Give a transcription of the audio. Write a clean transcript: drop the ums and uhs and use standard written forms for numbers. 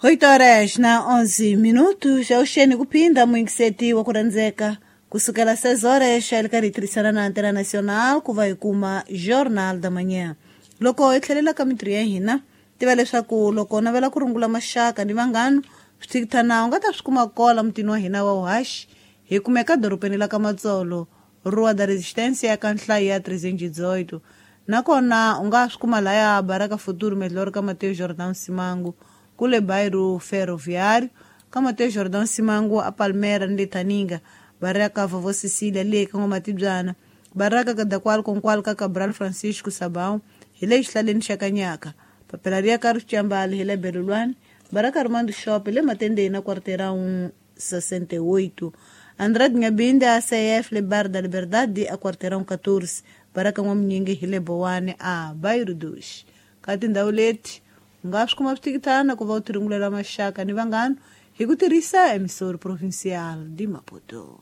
8 horas na 11 minutos. Auxene kupinda muingiseti wa kurandzeka kusukela 6 horas ali karhi hi tirhisana na Antena Nacional ku va hi kuma Jornal da Manhã. Loko hi tlhelela ka mintirho ya hina, tiva leswaku loko u navela ku rungula maxaka ni vanghana, swithikithana u nga ta swi kuma kola mutini wa hina wa Uhaxi. Hi kumeka dorobeni la ka Matsolo, Rua da Resistência ka nhlayo ya 318. Nakona u nga swi kuma laya Baraka Futuro Melhor ka Mateus Jordão Simango, kule bairro Ferroviário, ka Mateus Jordão Simango a Palmera ni le Taninga, Baraka Vovó Cecília le ka N'wamatibyana, Baraka Kadakwal Konkwal ka Cabral Francisco Sabão, hi le xihlaleni xa Kanyaka, papila ri ya ka Rixambali hi le Belulwani, Baraka Armando Shop le Matendeni na Quarteirão 68. Andrade Ngabinde a CF le Bar da Liberdade a Quarteirão 14, Baraka N'wamunyingi hi le Bowani a Bairro dos. Ka tindhawu leti u nga swi kuma swithikithana ku va u tirungulela maxaka ni vanghana hi ku tirhisa emissora provincial de Maputo.